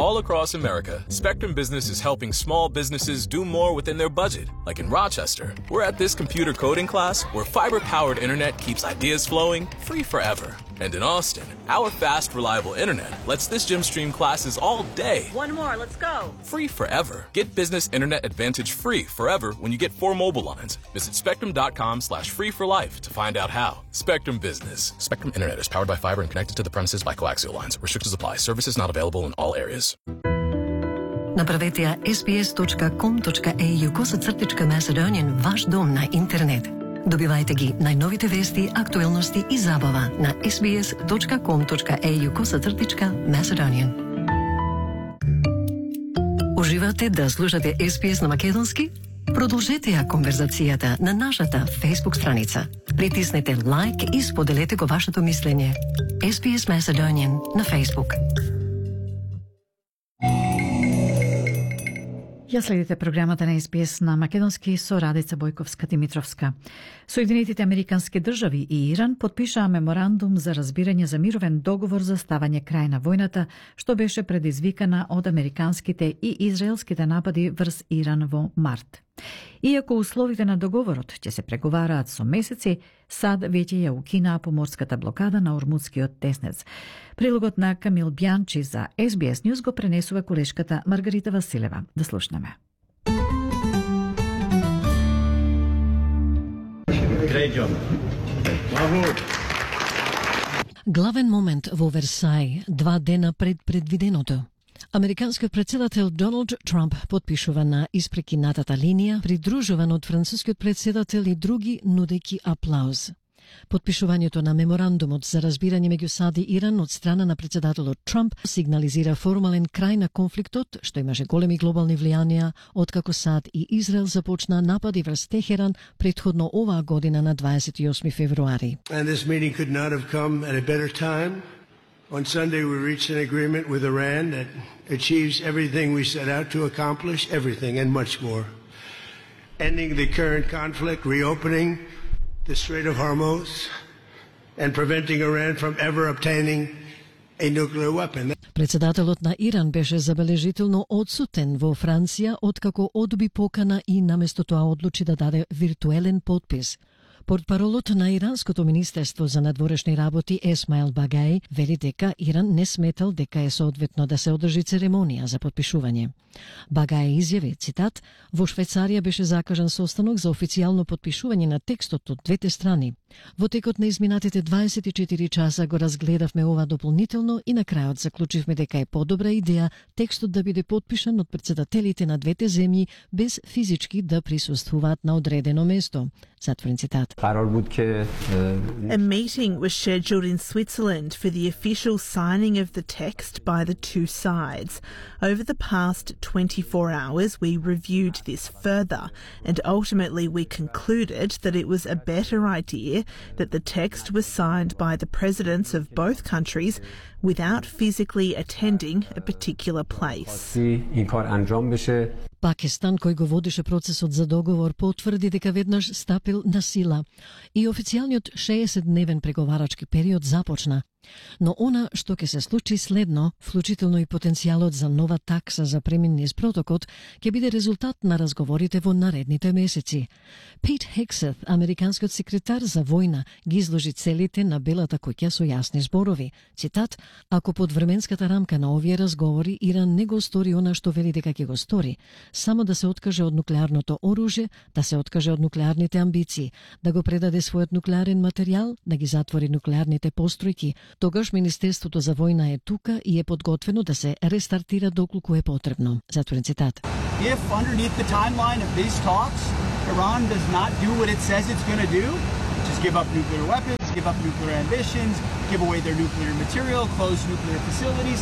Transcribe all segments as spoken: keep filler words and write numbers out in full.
all across America, Spectrum Business is helping small businesses do more within their budget. Like in Rochester, we're at this computer coding class where fiber-powered internet keeps ideas flowing free forever. And in Austin, our fast, reliable internet lets this gym stream classes all day. One more, let's go. Free forever. Get business internet advantage free forever when you get four mobile lines. Visit spectrum.com slash free for life to find out how. Spectrum Business. Spectrum Internet is powered by fiber and connected to the premises by coaxial lines. Restrictions apply. Services not available in all areas. Направете ја ес би ес точка ком точка ей ю косацртичка Macedonian ваш дом на интернет. Добивајте ги најновите вести, актуелности и забава на ес би ес точка ком точка ей ю косацртичка Macedonian. Уживате да слушате ес би ес на македонски? Продолжете ја конверзацијата на нашата Facebook страница. Притиснете лайк и споделете го вашето мислење. ес би ес Macedonian на Facebook. Ја следите програмата на ес би ес на македонски со Радица Бојковска-Димитровска. Соединетите американски држави и Иран потпишаа меморандум за разбирање за мировен договор за ставање крај на војната, што беше предизвикана од американските и израелските напади врз Иран во март. Иако условите на договорот ќе се преговараат со месеци, САД веќе ја укинаа поморската блокада на Ормудскиот теснец. Прилогот на Камил Бјанчи за ес би ес News го пренесува колешката Маргарита Василева. Да слушнеме. Главен момент во Версај, два дена пред предвиденото. Американскиот председател Доналд Трамп потпишува на испрекинатата линија, придружуван од францускиот председател и други, нудејќи аплауз. Потпишувањето на меморандумот за разбирање меѓу САД и Иран од страна на председателот Трамп сигнализира формален крај на конфликтот, што имаше големи глобални влијанија, откако САД и Израел започнаа напади врз Техеран претходно оваа година на дваесет и осми февруари. And this meeting could not have come at a better time. On Sunday, we reached an agreement with Iran that achieves everything we set out to accomplish, everything and much more. Ending the current conflict, reopening the Strait of Hormuz, and preventing Iran from ever obtaining a nuclear weapon. Председателот на Иран беше забележително одсутен во Франција, откако одби покана и наместо тоа одлучи да даде виртуелен подпис. Портпаролот на Иранското министерство за надворешни работи Есмаил Багај вели дека Иран не сметал дека е соодветно да се одржи церемонија за потпишување. Багај изјави, цитат, во Швајцарија беше закажан состанок за официјално потпишување на текстот од двете страни. Во текот на изминатите дваесет и четири часа го разгледавме ова дополнително и на крајот заклучивме дека е подобра идеја текстот да биде потпишан од председателите на двете земји без физички да присуствуваат на одредено место. Затворен цитат. A meeting was scheduled in Switzerland for the official signing of the text by the two sides. Over the past twenty-four hours, we reviewed this further, and ultimately we concluded that it was a better idea that the text was signed by the presidents of both countries without physically attending a particular place. Пакистан, кој го водеше процесот за договор, потврди дека веднаш стапил на сила и официјалниот шеесетдневен преговарачки период започна. Но она што ќе се случи следно, вклучително и потенцијалот за нова такса за премин низ протокот, ќе биде резултат на разговорите во наредните месеци. Пит Хексет, американскиот секретар за војна, ги изложи целите на Белата куќа со јасни зборови. Цитат: "Ако под временската рамка на овие разговори Иран не го стори она што вели дека ќе го стори, само да се откаже од нуклеарното оружје, да се откаже од нуклеарните амбиции, да го предаде својот нуклеарен материјал, да ги затвори нуклеарните постројки, тогаш Министерството за војна е тука и е подготвено да се рестартира доколку е потребно." Затворен цитат. If underneath the timeline of these talks, Iran does not do what it says it's going to do, which is give up nuclear weapons, give up nuclear ambitions, give away their nuclear material, close nuclear facilities,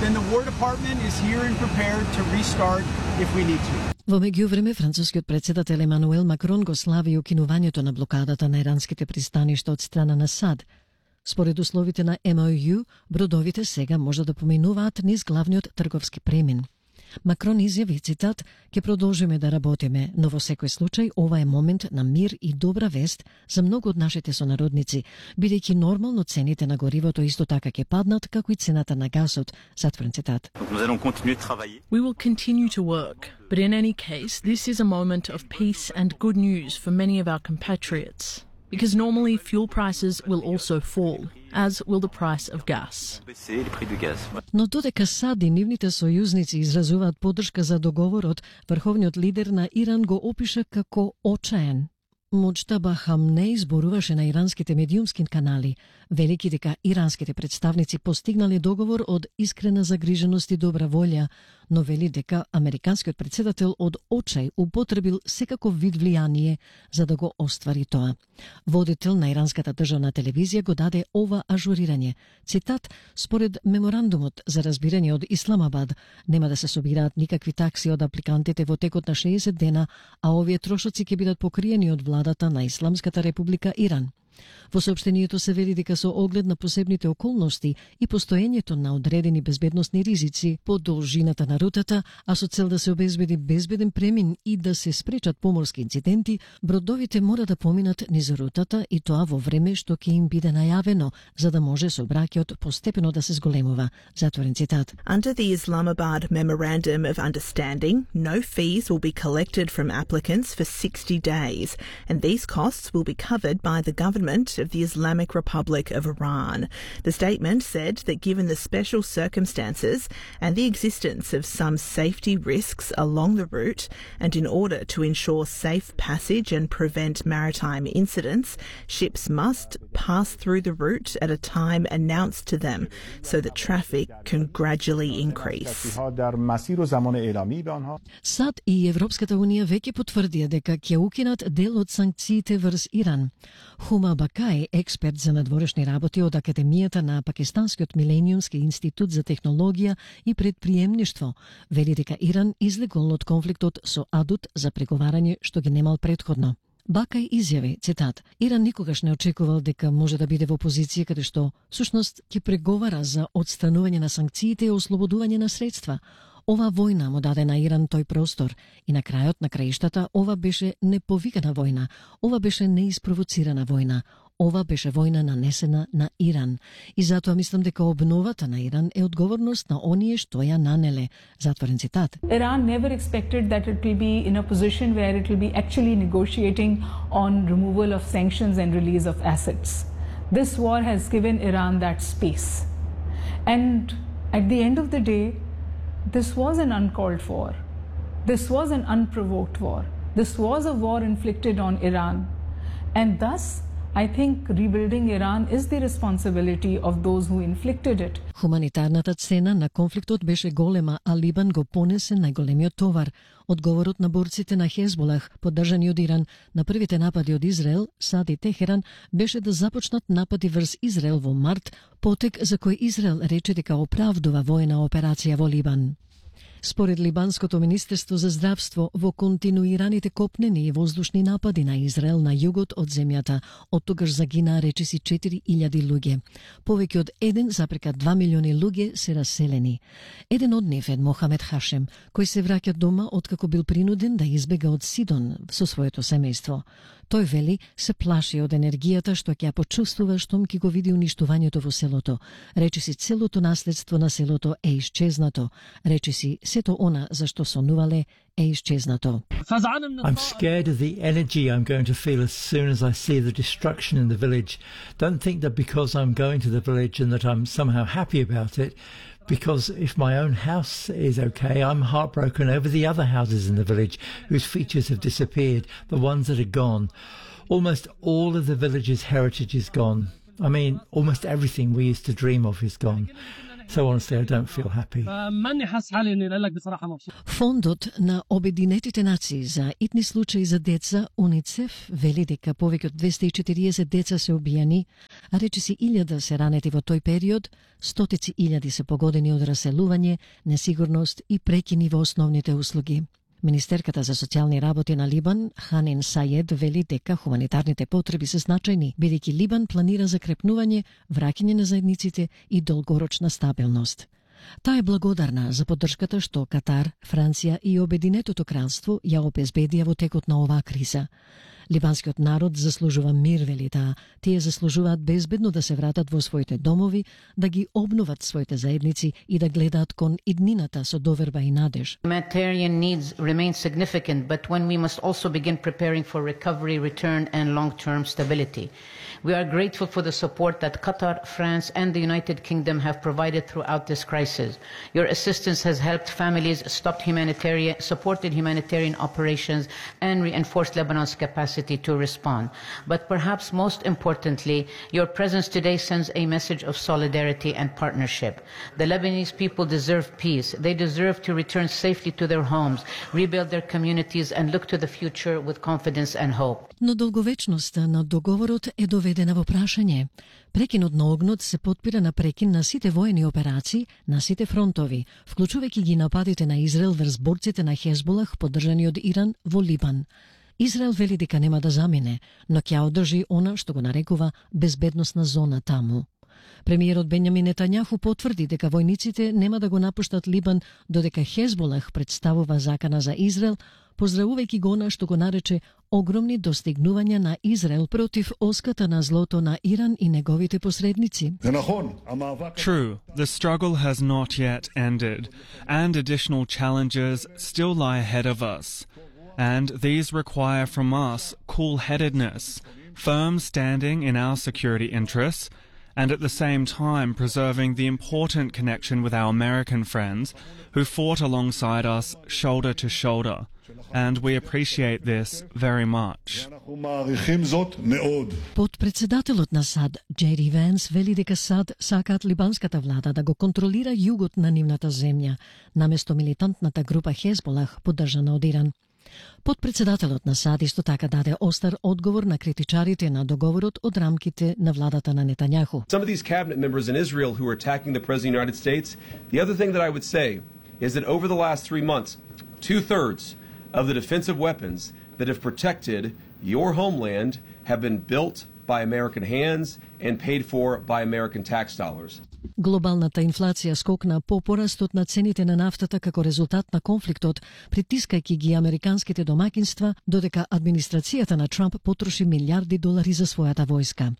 then the War Department is here and prepared to restart if we need to. Во меѓувреме, францускиот председател Емануел Макрон го слави укинувањето на блокадата на иранските пристаништа од страна на САД. Според условите на Ем О Ју, бродовите сега може да поминуваат низ главниот трговски премин. Макрон изјави, цитат, «Ке продолжиме да работиме, но во секој случај ова е момент на мир и добра вест за многу од нашите сонародници, бидејќи нормално цените на горивото исто така ќе паднат, како и цената на гасот», затворен цитат. We will continue to work, but in any case, this is a moment of peace and good news for many of our compatriots. Because normally fuel prices will also fall, as will the price of gas. Но додека САД и нивните сојузници изразуваат поддршка за договорот, врховниот лидер на Иран го опиша како очаен. Муџтаба Хамнеј зборуваше на иранските медиумски канали, велики дека иранските представници постигнале договор од искрена загриженост и добра волја, но вели дека американскиот претседател од очај употребил секаков вид влијание за да го оствари тоа. Водител на иранската државна телевизија го даде ова ажурирање. Цитат, според меморандумот за разбирање од Исламабад, нема да се собираат никакви такси од апликантите во текот на шеесет дена, а овие трошоци ќе бидат покриени од владата на Исламската република Иран. Во соопштението се вели дека со оглед на посебните околности и постоењето на одредени безбедносни ризици по должината на рутата, а со цел да се обезбеди безбеден премин и да се спречат поморски инциденти, бродовите мора да поминат низ рутата и тоа во време што ќе им биде најавено, за да може сообраќајот постепено да се зголемува. Затворен цитат. Under the Islamabad Memorandum of Understanding, no fees will be collected from applicants for sixty days, and these costs will be covered by the government of the Islamic Republic of Iran. The statement said that given the special circumstances and the existence of some safety risks along the route, and in order to ensure safe passage and prevent maritime incidents, ships must pass through the route at a time announced to them so that traffic can gradually increase. САД и Европската унија веќе потврдија дека ќе укинат дел од санкциите врз Иран. Хума Бакај, експерт за надворешни работи од Академијата на Пакистанскиот Милениумски институт за технологија и предприемништво, вели дека Иран излегол од конфликтот со Адут за преговарање што ги немал предходно. Бакај изјави, цитат, Иран никогаш не очекувал дека може да биде во позиција каде што, всушност, ќе преговара за одстранување на санкциите и ослободување на средства. Ова војна му даде на Иран тој простор и на крајот на краиштата ова беше неповикана војна, ова беше неиспровоцирана војна, ова беше војна нанесена на Иран. И затоа мислам дека обновата на Иран е одговорност на оние што ја нанеле. Затворен цитат. Iran never expected that it will be in a position where it will be actually negotiating on removal of sanctions and release of assets. This war has given Iran that space. And at the end of the day, this was an uncalled for. This was an unprovoked war. This was a war inflicted on Iran. And thus, I think rebuilding Iran is the responsibility of those who inflicted it. Хуманитарната цена на конфликтот беше голема, а Либан го понесе најголемиот товар. Одговорот на борците на Хезболах, поддржани од Иран, на првите напади од Израел, САД и Техеран, беше да започнат напади врз Израел во март, потек за кој Израел рече дека оправдува војна операција во Либан. Според Либанското министерство за здравство, во континуираните копнени и воздушни напади на Израел на југот од земјата, од тогаш загинаа речиси четири илјади луѓе. Повеќе од еден запрека два милиони луѓе се раселени. Еден од нив е Мохамед Хашем, кој се враќа дома откако бил принуден да избега од Сидон со своето семејство. Тој вели се плаши од енергијата што ќе ја почувствува штом ќе го види уништувањето во селото. Речиси целото наследство на селото е исчезнато. Речиси сето она за што сонувале е исчезнато. I'm scared of the energy I'm going to feel as soon as I see the destruction in the village. Don't think that because I'm going to the village and that I'm somehow happy about it, because if my own house is okay, I'm heartbroken over the other houses in the village whose features have disappeared, the ones that are gone. Almost all of the village's heritage is gone. I mean, almost everything we used to dream of is gone. So honestly, I don't feel happy. Фондот на Обединетите нации за итни случаи за деца, УНИЦЕФ, вели дека повеќе од двесте и четириесет деца се убијани, а речиси илјада се ранети во тој период, стотици илјади се погодени од раселување, несигурност и прекини во основните услуги. Министерката за социјални работи на Либан, Ханин Саед, вели дека хуманитарните потреби се значајни, бидејќи Либан планира закрепнување, враќање на заедниците и долгорочна стабилност. Таа е благодарна за поддршката што Катар, Франција и Обединетото кралство ја обезбедија во текот на оваа криза. Либанскиот народ заслужува мир, вели таа. Тие заслужуваат безбедно да се вратат во своите домови, да ги обноват своите заедници и да гледаат кон иднината со доверба и надеж. Humanitarian needs remain significant, but when we must also begin preparing for recovery, return and long-term stability. We are grateful for the support that Qatar, France and the United Kingdom have provided throughout this crisis. Your assistance has helped families, stopped humanitarian, supported humanitarian operations and reinforced Lebanon's capacity to respond. But perhaps most importantly, your presence today sends a message of solidarity and partnership. The Lebanese people deserve peace. They deserve to return safely to their homes, rebuild their communities and look to the future with confidence and hope. Но долговечноста на договорот е доведена во прашање. Прекинот на огнот се потпира на прекин на сите воени операции, на сите фронтови, вклучувајќи ги нападите на Израел врз борците на Хезболах, поддржани од Иран во Либан. Израел вели дека нема да замине, но ќе одржи она што го нарекува безбедносна зона таму. Премиерот Бенјамин Нетањаху потврди дека војниците нема да го напуштат Либан додека Хезболах представува закана за Израел, поздравувајќи го она што го нарече огромни достигнувања на Израел против оската на злото на Иран и неговите посредници. True, the struggle has not yet ended, and additional challenges still lie ahead of us. And these require from us cool-headedness, firm standing in our security interests, and at the same time preserving the important connection with our American friends who fought alongside us shoulder to shoulder. And we appreciate this very much. Подпредседателот на САД, Джеди Венс, вели дека САД сакаат либанската влада да го контролира југот на нивната земја, наместо милитантната група Хезболах, поддржана од Иран. Подпредседателот на САД исто така даде остар одговор на критичарите на договорот од рамките на владата на Нетањаху. Some of these cabinet members in Israel who are attacking the President of the United States, the other thing that I would say is that over the last three months, two-thirds of the defensive weapons that have protected your homeland have been built by American hands and paid for by American tax dollars. Глобалната инфлација скокна по порастот на цените на нафтата како резултат на конфликтот, притискајќи ги американските домаќинства, додека администрацијата на Трамп потроши милиарди долари за својата војска.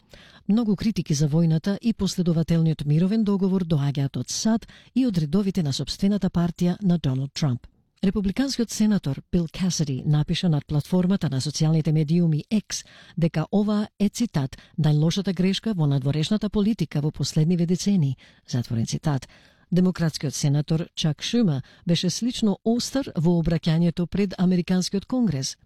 Многу критики за војната и последователниот мировен договор доаѓаат од САД и од редовите на сопствената партија на Доналд Трамп. Републиканскиот сенатор Бил Касиди напиша над платформата на социјалните медиуми X дека ова е цитат најлошата грешка во надворешната политика во последниве децени, затворен цитат. Демократскиот сенатор Чак Шума беше слично остар во обраќањето пред Американскиот конгрес.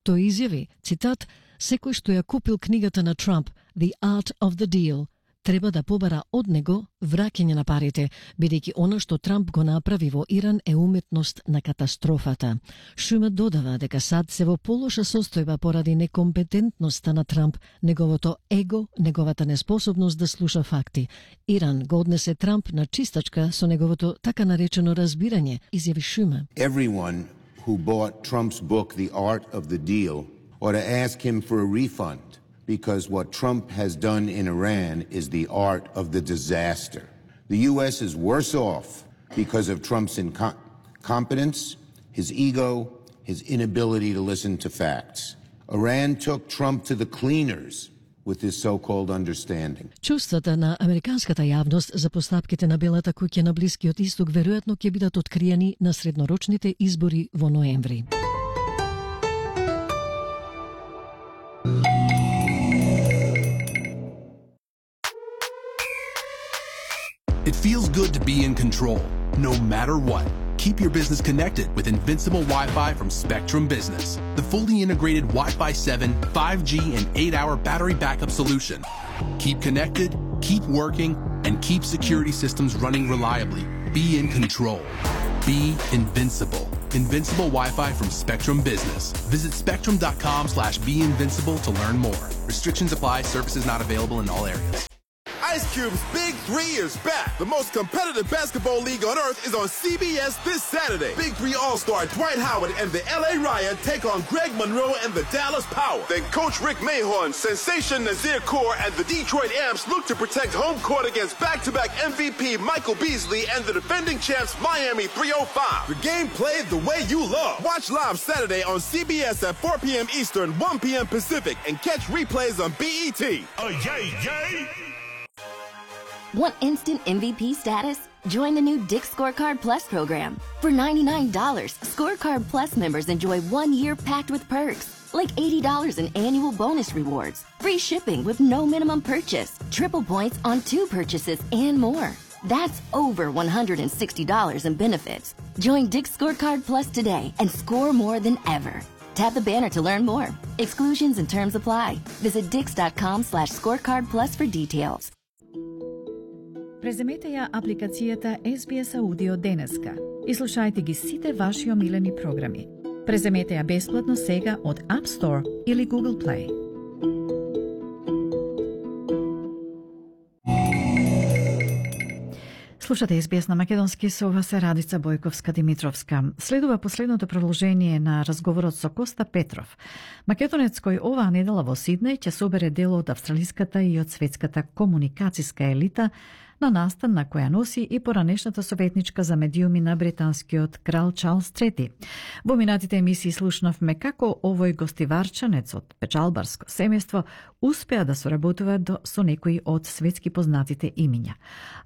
Тој изјави, цитат, секој што ја купил книгата на Трамп, The Art of the Deal, треба да побара од него враќање на парите, бидејќи она што Трамп го направи во Иран е уметност на катастрофата. Шума додава дека САД се во полоша состојба поради некомпетентноста на Трамп, неговото его, неговата неспособност да слуша факти. Иран го однесе Трамп на чистачка со неговото така наречено разбирање, изјави Шума. Everyone who bought Trump's book The Art of the Deal ought to ask him for a refund. Because what Trump has done in Iran is the art of the disaster. The U S is worse off because of Trump's incompetence, his ego, his inability to listen to facts. Iran took Trump to the cleaners with this so-called understanding. Чувствата на американската јавност за постапките на Белата куќа на Блискиот Исток веројатно ќе бидат откриени на среднорочните избори во ноември. It feels good to be in control, no matter what. Keep your business connected with Invincible Wi-Fi from Spectrum Business, the fully integrated Wi-Fi seven, five G, and eight hour battery backup solution. Keep connected, keep working, and keep security systems running reliably. Be in control. Be invincible. Invincible Wi-Fi from Spectrum Business. Visit spectrum.com slash be invincible to learn more. Restrictions apply. Services not available in all areas. Ice Cube's Big Three is back. The most competitive basketball league on earth is on C B S this Saturday. Big Three All-Star Dwight Howard and the L A Riot take on Greg Monroe and the Dallas Power. Then Coach Rick Mahorn, Sensation Nazir Kaur, and the Detroit Amps look to protect home court against back-to-back M V P Michael Beasley and the defending champs Miami three oh five. The game played the way you love. Watch live Saturday on C B S at four p.m. Eastern, one p.m. Pacific, and catch replays on B E T. Oh, yay, yay! Want instant M V P status? Join the new Dick's Scorecard Plus program. For ninety-nine dollars, Scorecard Plus members enjoy one year packed with perks, like eighty dollars in annual bonus rewards, free shipping with no minimum purchase, triple points on two purchases, and more. That's over one hundred sixty dollars in benefits. Join Dick's Scorecard Plus today and score more than ever. Tap the banner to learn more. Exclusions and terms apply. Visit dix.com slash scorecard plus for details. Преземете ја апликацијата Ес Би Ес Audio денеска и слушајте ги сите ваши омилени програми. Преземете ја бесплатно сега од App Store или Google Play. Слушате Ес Би Ес на македонски, со вас е Радица Бојковска-Димитровска. Следува последното продолжение на разговорот со Коста Петров, македонец кој оваа недела во Сиднеј ќе собере дел од австралиската и од светската комуникацијска елита на настан на која носи и поранешната советничка за медиуми на британскиот крал Чарлс трети. Во минатите емисии слушнавме како овој гостиварчанец од печалбарско семејство успеа да соработува до, со некои од светски познатите имиња.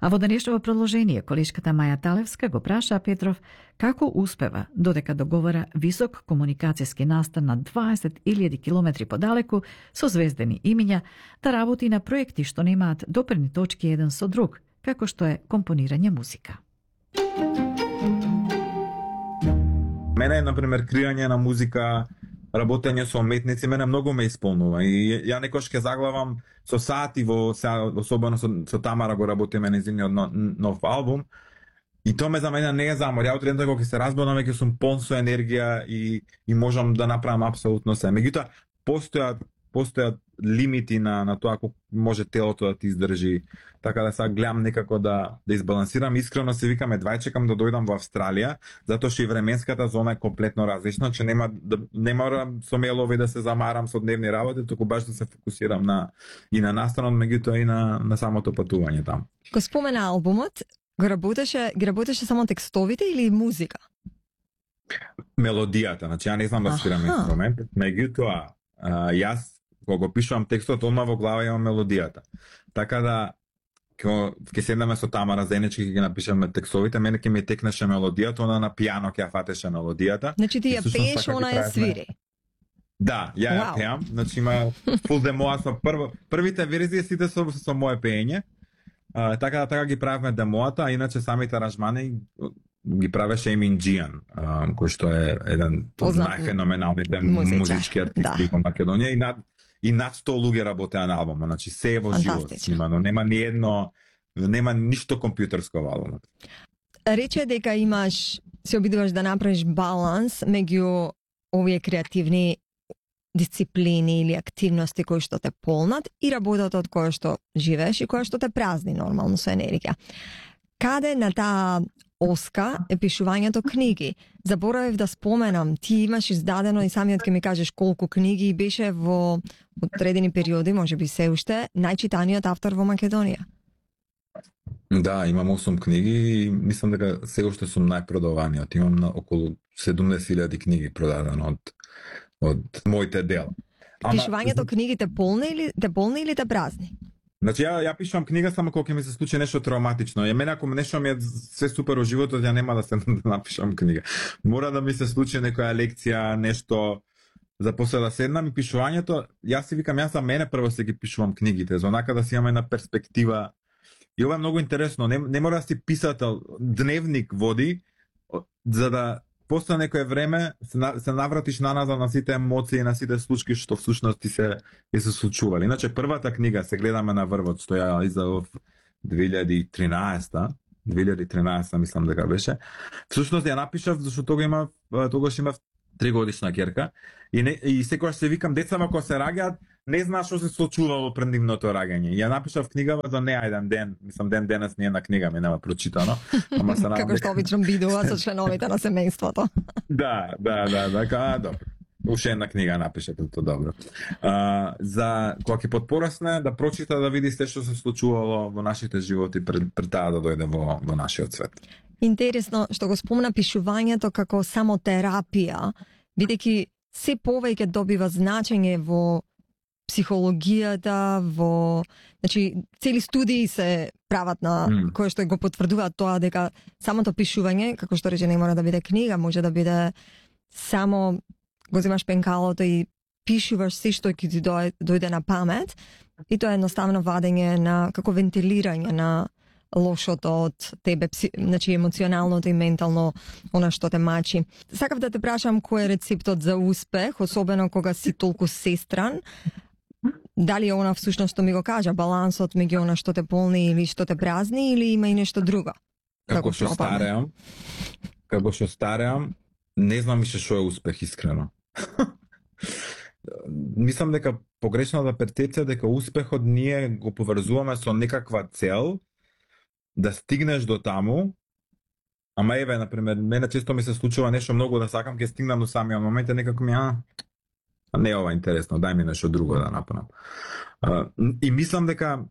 А во денешното продолжение колешката Маја Талевска го праша Петров како успева, додека договара висок комуникацијски настан на дваесет илјади километри подалеку со звездени имиња, да работи на проекти што немаат допирни точки еден со друг, како што е компонирање музика. Мене, например, креање на музика, работење со уметници, мене многу ме исполнува. И ја некош ке заглавам со сати во, особено со, со Тамара го работиме незиниот нов, нов албум. И тоа ме за мене не е замор. Ја утре кога ќе се разбудам, ќе сум полн со енергија и, и можам да направам апсолутно се. Меѓутоа, постојат постојат лимити на на тоа колку може телото да ти издржи. Така да сега гледам некако да да избалансирам. Искрено се викам едва чекам да дојдам во Австралија, затоа што и временската зона е комплетно различна, че нема да нема со мелови да се замарам со дневни работи, туку баш да се фокусирам на и на настанот, меѓутоа и на на самото патување таму. Го спомена албумот, го работеше, ги работеше само текстовите или музика? Мелодијата, значи ја не знам да свирам инструмент, меѓутоа јас кога го пишувам текстот, одма во глава имам мелодијата. Така да ќе седнеме со Тамара заеднички ќе ги напишеме текстовите, мене ќе ми текнеше мелодијата, она на пијано ќе ја фатеше мелодијата. Значи ти ја пееш, она ја свири. Да, ја ја пеам, значи има фул демоа со прво, првите верзии сите со со мое пеење. А, така да така ги правиме демоата, а иначе самите аранжмани ги правеше Емин Џијан, кој што е еден од најфеноменалните музички артисти во Македонија и над и над сто луѓе работеа на албумот, значи се е во живот снимано, нема ни едно, нема ништо компјутерско во албумот. Рече дека имаш, се обидуваш да направиш баланс меѓу овие креативни дисциплини или активности кои што те полнат и работата од која што живееш и која што те празни нормално со енергија. Каде на таа оска е пишувањето книги? Заборавив да споменам, ти имаш издадено и самиот ќе ми кажеш колку книги, беше во одредени периоди, може би се уште, најчитаниот автор во Македонија. Да, имам осум книги и мислам дека сега уште сум најпродаваниот. Имам на околу седумдесет илјади книги продадено од од моите дела. Пишувањето книгите полни или те полни или те празни? Значи ја ја пишувам книга само кога ќе ми се случи нешто травматично. Ја мене ако нешто ми е се супер во животот, ја нема да се да напишам книга. Мора да ми се случи некоја лекција, нешто за после да седнам и пишувањето. Јас си викам, јас за мене прво се ги пишувам книгите, за онака да си имам една перспектива. И ова е многу интересно. Не, не мора да си писател, дневник води, за да после некое време се, на, се навратиш наназад на сите емоции, на сите случаи што всушност ти се и се случували. Иначе првата книга се гледаме на врвот, што ја издав две илјади и тринаесета, две илјади и тринаесета мислам дека беше. Всушност ја напишав зашто тога има тогаш имав тригодишна ќерка и не, и секогаш се викам децава кога се раѓаат, не знаеш што се случувало пред нивното раѓање. Ја напишав книгава за не еден ден, мислам ден денес не една книга ми нема прочитано, ама се како што обичам бидува со членовите на семејството. Да, да, да, да, да, добро. Уште една книга напишете, тоа добро. А, за кога ќе подпорасне да прочита да види се што се случувало во нашите животи пред, пред таа да дојде во, во нашиот свет. Интересно што го спомна пишувањето како само терапија, бидејќи се повеќе добива значење во психологијата, во, значи цели студии се прават на mm. кои што го потврдуваат тоа дека самото пишување, како што рече, не мора да биде книга, може да биде само го земаш пенкалото и пишуваш се што ќе ти дојде, дојде на памет, и тоа е едноставно вадење на како вентилирање на лошото од тебе, значи емоционалното и ментално она што те мачи. Сакав да те прашам кој е рецептот за успех, особено кога си толку сестран. Дали е она всушност што ми го кажа, балансот меѓу она што те полни или што те празни, или има и нешто друго? Како што стареам, како што стареам, не знам више што е успех, искрено. Мислам дека погрешната перцепција дека успехот ние го поврзуваме со некаква цел да стигнеш до таму. Ама еве, например, мене често ми се случува нешто многу да сакам, ќе стигнам до самиот момент и некако ми а не е ова интересно, дај ми нешто друго да направам. И мислам дека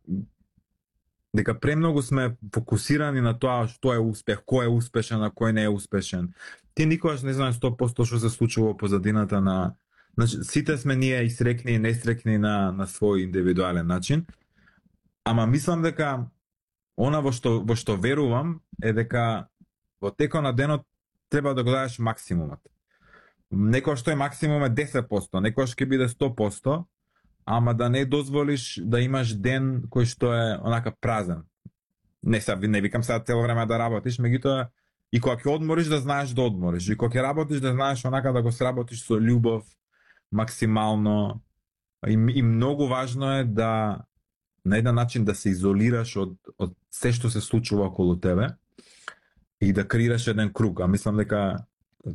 дека премногу сме фокусирани на тоа што е успех, кој е успешен, а кој не е успешен. Ти никогаш не знаеш сто проценти што се случува во позадината на, значи сите сме ние и срекни и несрекни на на свој индивидуален начин. Ама мислам дека она во што во што верувам е дека во текот на денот треба да го дадеш максимумот. Некој што е максимум е десет проценти, некој ќе биде сто проценти, ама да не дозволиш да имаш ден кој што е онака празен. Не се не викам сега цело време да работиш, меѓутоа и кога ќе одмориш да знаеш да одмориш, и кога ќе работиш да знаеш онака да го сработиш со љубов максимално. И, и многу важно е да на еден начин да се изолираш од од се што се случува околу тебе и да креираш еден круг. А мислам дека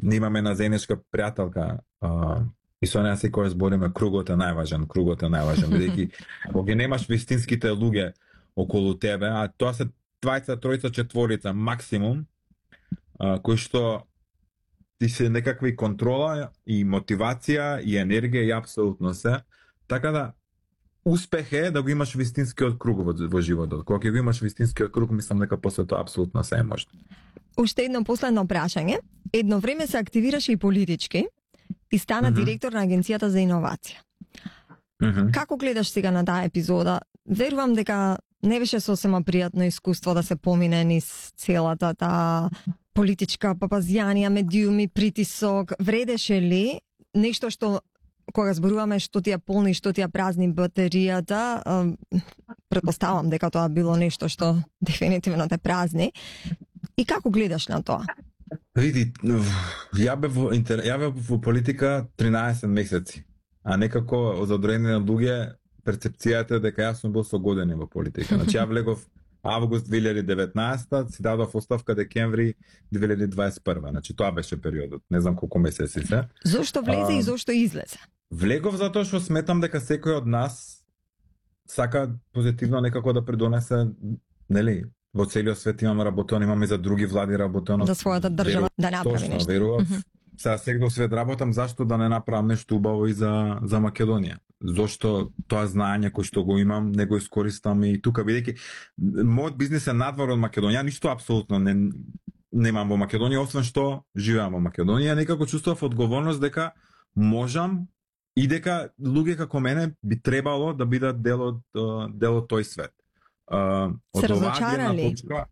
ние имаме една заедничка пријателка, а, и со неа секој збориме кругот е најважен, кругот е најважен, бидејќи кога немаш вистинските луѓе околу тебе, а тоа се двајца, тројца, четворица максимум, а, кои што ти се некакви контрола и мотивација и енергија и апсолутно се. Така да успех е да го имаш вистинскиот круг во, во животот. Кога ќе го имаш вистинскиот круг, мислам дека после тоа апсолутно се е можно. Уште едно последно прашање. Едно време се активираше и политички и стана mm-hmm. директор на Агенцијата за иновација. Mm-hmm. Како гледаш сега на таа епизода? Верувам дека не беше сосема пријатно искуство да се помине низ целата таа политичка папазјанија, медиуми, притисок. Вредеше ли нешто што кога зборуваме што ти ја полни, што ти ја празни батеријата, претпоставам дека тоа било нешто што дефинитивно те празни. И како гледаш на тоа? Види, ја бев во, ја бев во политика тринаесет месеци, а некако за одредени луѓе перцепцијата е дека јас сум бил со години во политика. Значи ја влегов август две илјади и деветнаесета, си дадов оставка декември две илјади дваесет и прва. Значи тоа беше периодот. Не знам колку месеци се. Зошто влезе а, и зошто излезе? Влегов затоа што сметам дека секој од нас сака позитивно некако да придонесе, нели, во целиот свет имаме работено, имаме за други влади работено. За својата држава да направи точно, нешто. Верував. Mm-hmm. Сега секој свет работам, зашто да не направам нешто убаво и за за Македонија? Зошто тоа знаење кој што го имам не го искористам и тука, бидејќи мојот бизнис е надвор од Македонија, ништо апсолутно не немам во Македонија, освен што живеам во Македонија, некако чувствував одговорност дека можам и дека луѓе како мене би требало да бидат дел од дел од тој свет. Uh, се разочарали? Точка,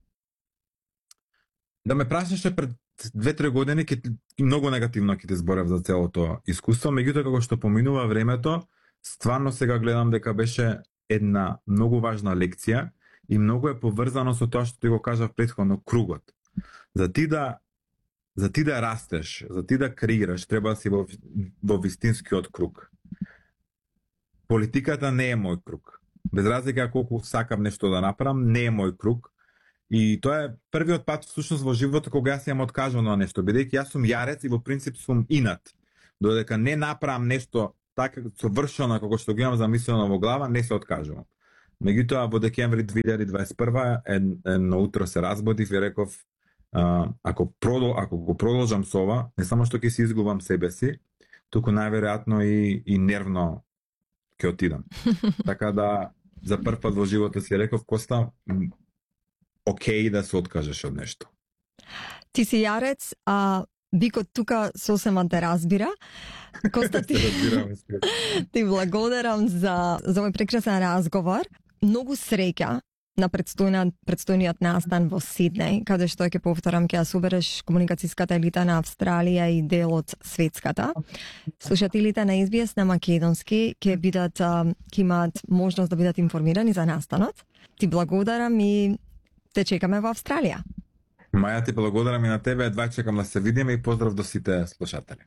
да ме прашаше пред две-три години, ке, многу негативно ќе те зборев за целото искуство, меѓутоа како што поминува времето, стварно сега гледам дека беше една многу важна лекција и многу е поврзано со тоа што ти го кажав претходно, кругот. За ти да за ти да растеш, за ти да креираш, треба да си во, во вистинскиот круг. Политиката не е мој круг. Без разлика колку сакам нешто да направам, не е мој круг. И тоа е првиот пат всушност во животот кога јас имам откажано на нешто, бидејќи јас сум јарец и во принцип сум инат. Додека не направам нешто така совршено како што го имам замислено во глава, не се откажувам. Меѓутоа во декември две илјади дваесет и прва едно утро се разбудив и реков а, ако продол ако го продолжам со ова, не само што ќе си изгубам себе си, туку најверојатно и и нервно ќе отидам. Така да за прв пат во животот си реков, Коста, окей да се откажеш од нешто. Ти си јарец, а Бикот тука сосема те разбира. Коста, ти, ти благодарам за, за овој прекрасен разговор. Многу среќа на предстојниот, предстојниот настан во Сиднеј, каде што ќе повторам, ќе ја собереш комуникацијската елита на Австралија и дел од светската. Слушателите на Ес Би Ес на македонски ќе бидат, ќе имаат можност да бидат информирани за настанот. Ти благодарам и те чекаме во Австралија. Маја, ти благодарам и на тебе, едва чекам да се видиме и поздрав до сите слушатели.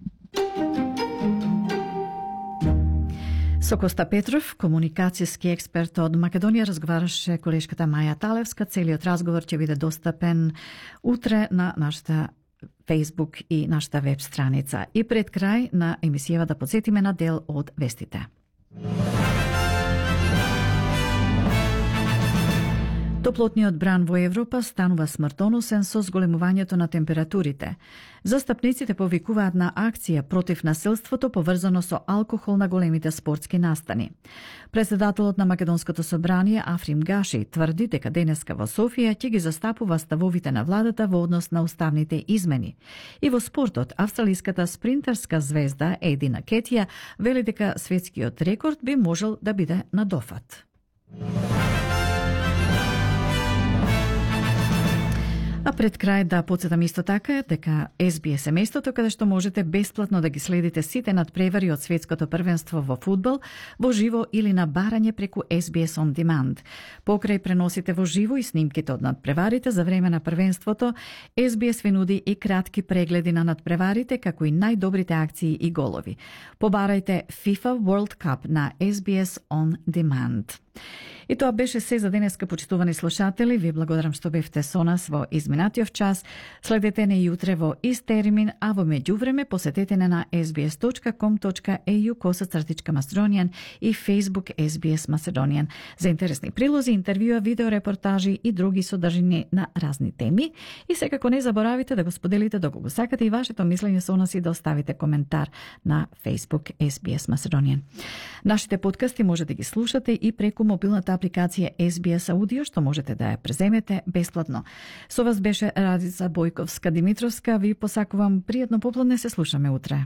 Со Коста Петров, комуникацијски експерт од Македонија, разговараше колешката Маја Талевска. Целиот разговор ќе биде достапен утре на нашата Facebook и нашата веб страница. И пред крај на емисијава да подсетиме на дел од вестите. Топлотниот бран во Европа станува смртоносен со зголемувањето на температурите. Застапниците повикуваат на акција против насилството поврзано со алкохол на големите спортски настани. Председателот на Македонското собрание Африм Гаши тврди дека денеска во Софија ќе ги застапува ставовите на владата во однос на уставните измени. И во спортот, австралиската спринтерска звезда Едина Кетија вели дека светскиот рекорд би можел да биде надофат. А пред крај да подсетам исто така дека Ес Би Ес е местото каде што можете бесплатно да ги следите сите надпревари од светското првенство во фудбал во живо или на барање преку Ес Би Ес On Demand. Покрај преносите во живо и снимките од надпреварите за време на првенството, Ес Би Ес ви нуди и кратки прегледи на надпреварите како и најдобрите акции и голови. Побарајте FIFA World Cup на Ес Би Ес On Demand. И тоа беше се за денеска, почитувани слушатели. Ви благодарам што бевте со нас во изминатиот час. Следете не и утре во ист термин, а во меѓувреме посетете не на ес би ес точка ком точка ей ю косацртичка Macedonian и Facebook Ес Би Ес Macedonian за интересни прилози, интервјуа, видеорепортажи и други содржини на разни теми. И секако не заборавите да го споделите доколку сакате и вашето мислење со нас и да оставите коментар на Facebook Ес Би Ес Macedonian. Нашите подкасти може да ги слушате и преку мобилната апликација Ес Би Ес Аудио, што можете да ја преземете бесплатно. Со вас беше Радица Бојковска Димитровска. Ви посакувам пријатно попладне, се слушаме утре.